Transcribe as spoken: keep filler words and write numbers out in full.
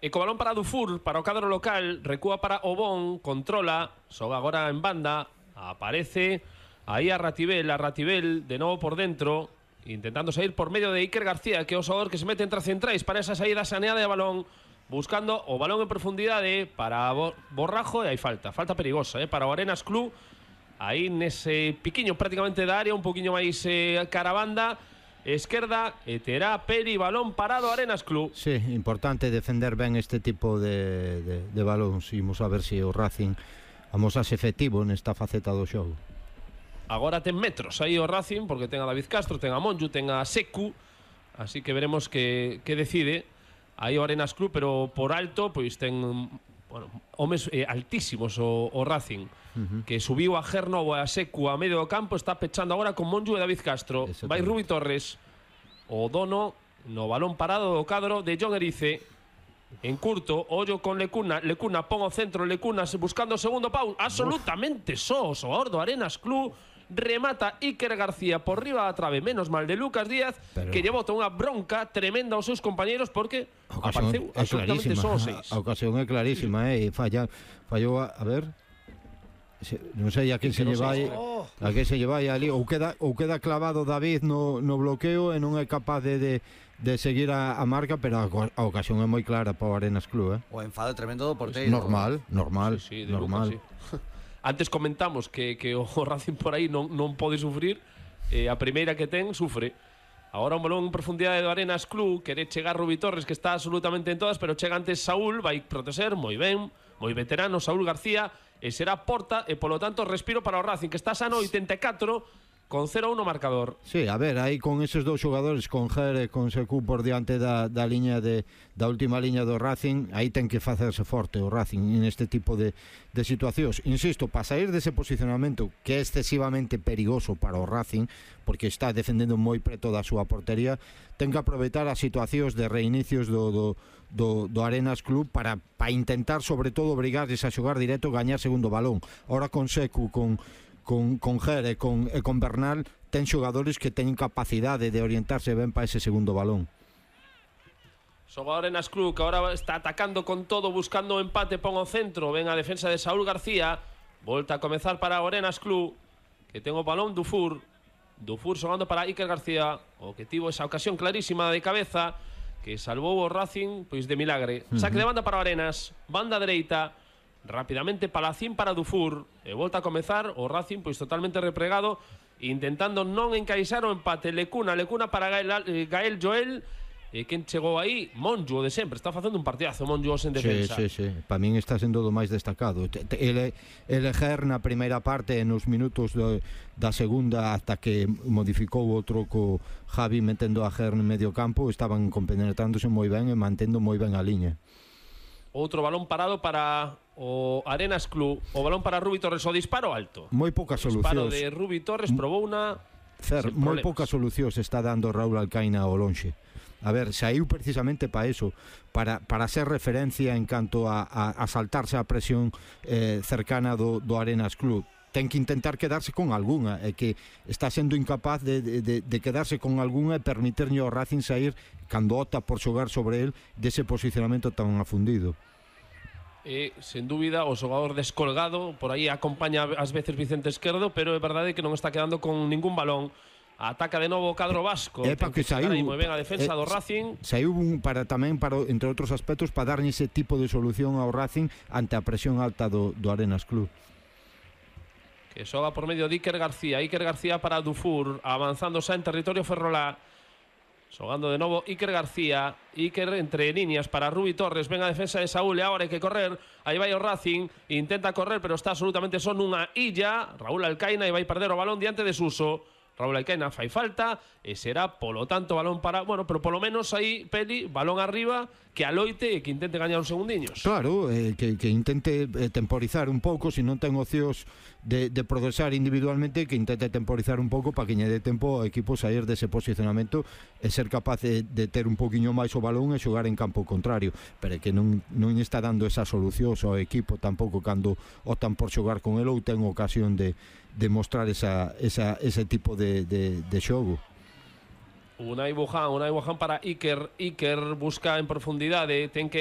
E co balón para Dufour, para o cadro local, recúa para Obón, controla, xoga agora en banda, aparece aí a Ratibel, a Ratibel de novo por dentro, intentando sair por medio de Iker García, que é o xogador que se mete entre centrais para esa saída saneada de balón, buscando o balón en profundidade para Borrajo, e hai falta, falta perigosa, eh, para o Arenas Club, aí nese piquiño prácticamente da área, un poquinho máis eh, cara a banda, esquerda, e terá Peri, balón parado Arenas Club. Sí, importante defender ben este tipo de, de, de balóns. Imos a ver se o Racing amosase efectivo nesta faceta do xogo. Agora ten metros aí o Racing, porque ten a David Castro, ten a Monju, ten a Secu, así que veremos que, que decide aí o Arenas Club, pero por alto pois ten, bueno, homes eh, altísimos o, o Racing, uh-huh. que subiu a Gernovo e a Secu a medio do campo, está pechando agora con Monju e David Castro. Vai Rubi Torres, o dono no balón parado do cadro de John Erice, en curto, ollo con Lecuna, Lecuna pon o centro, Lecuna buscando o segundo pau, absolutamente só o xogador do Arenas Club, remata Iker García por riba da trave, menos mal de Lucas Díaz, pero que lle bota unha bronca tremenda aos seus compañeros, porque apareceu absolutamente só os seis. A ocasión é clarísima, eh, e falla, fallou a, a ver, se, non sei a quen se lle vai, a quen se lle vai ali, ou queda, ou queda clavado David no, no bloqueo e non é capaz de, de, de seguir a, a marca, pero a, a ocasión é moi clara para o Arenas Club, eh. O enfado tremendo do porteiro. Normal, normal, sí, sí, normal. Lucas, sí. Antes comentamos que, que o Racing por aí non, non pode sufrir, eh, a primeira que ten sufre. Agora un balón en profundidade do Arenas Club, quere chegar Rubi Torres, que está absolutamente en todas, pero chega antes Saúl, vai proteger, moi ben, moi veterano Saúl García, e será porta, e polo tanto respiro para o Racing, que está sano oitenta e catro, con cero a uno marcador. Sí, a ver, aí con esos dous xogadores, con Ger e con Secu por diante da, da liña de, da última liña do Racing, aí ten que facerse forte o Racing neste tipo de, de situacións. Insisto, para sair dese posicionamento que é excesivamente perigoso para o Racing, porque está defendendo moi preto da súa portería, ten que aproveitar as situacións de reinicios do, do, do, do Arenas Club para, para intentar, sobre todo, obrigarles a xogar directo e gañar segundo balón. Ahora con Secu, con con, con Ger e con, e con Bernal, ten xogadores que teñen capacidade de orientarse ben para ese segundo balón. Xogador Arenas Club, que agora está atacando con todo, buscando o empate, pon o centro, ven a defensa de Saúl García, volta a comezar para o Arenas Club, que ten o balón Dufour, Dufour xogando para Iker García, o que tivo esa ocasión clarísima de cabeza, que salvou o Racing, pois de milagre. Uh-huh. Saque de banda para o Arenas, banda dereita, rápidamente Palacín para Dufour, e volta a comezar o Racing pois totalmente repregado, intentando non encaixar o empate. Lecuna, Lecuna para Gael, Gael Joel, e quen chegou aí? Monju, de sempre, está facendo un partidazo Monju en defensa. Sí, sí, sí, para min está sendo do máis destacado. Ele, ele Ger na primeira parte, nos minutos do, da segunda, hasta que modificou outro co Javi metendo a Ger no medio campo, estaban compenetrándose moi ben e mantendo moi ben a liña. Outro balón parado para o Arenas Club, o balón para Rubi Torres, o disparo alto. Moi poucas solucións. O disparo de Rubi Torres probou unha... Fer, moi poucas solucións está dando Raúl Alcaina ao lonxe. A ver, saiu precisamente para eso, para, para ser referencia en canto a, a, a saltarse a presión eh, cercana do, do Arenas Club. Ten que intentar quedarse con algunha, e que está sendo incapaz de, de, de quedarse con algunha e permitirlle ao Racing sair cando opta por xogar sobre el dese posicionamento tan afundido. E, sen dúbida, o xogador descolgado, por aí acompaña ás veces Vicente Esquerdo, pero é verdade que non está quedando con ningún balón. Ataca de novo o cadro vasco. É para que saiu moi ben a defensa eh, do Racing. Saiu un, para tamén para entre outros aspectos para darlle ese tipo de solución ao Racing ante a presión alta do, do Arenas Club. Que xoga por medio de Iker García. Iker García para Dufour, avanzando xa en territorio ferrolá. Xogando de novo Iker García, Iker entre líneas para Rubi Torres, ven a defensa de Saúl e agora hai que correr, aí vai o Racing, intenta correr pero está absolutamente só nunha illa, Raúl Alcaina, e vai perder o balón diante de Suso. Raúl Alcaina fai falta e será polo tanto balón para, bueno, pero polo menos aí Peli, balón arriba, que aloite e que intente gañar uns segundiños. Claro, eh, que, que intente eh, temporizar un pouco, se non ten opcións de, de progresar individualmente, que intente temporizar un pouco para que lle dé tempo ao equipo sair dese posicionamento e ser capaz de, de ter un poquinho máis o balón e xogar en campo contrario, pero que non, non está dando esa solución ao equipo tampouco cando optan por xogar con el ou ten ocasión de, de mostrar esa, esa, ese tipo de, de, de xogo. Unai Bujan, Unai Bujan para Iker, Iker busca en profundidade, ten que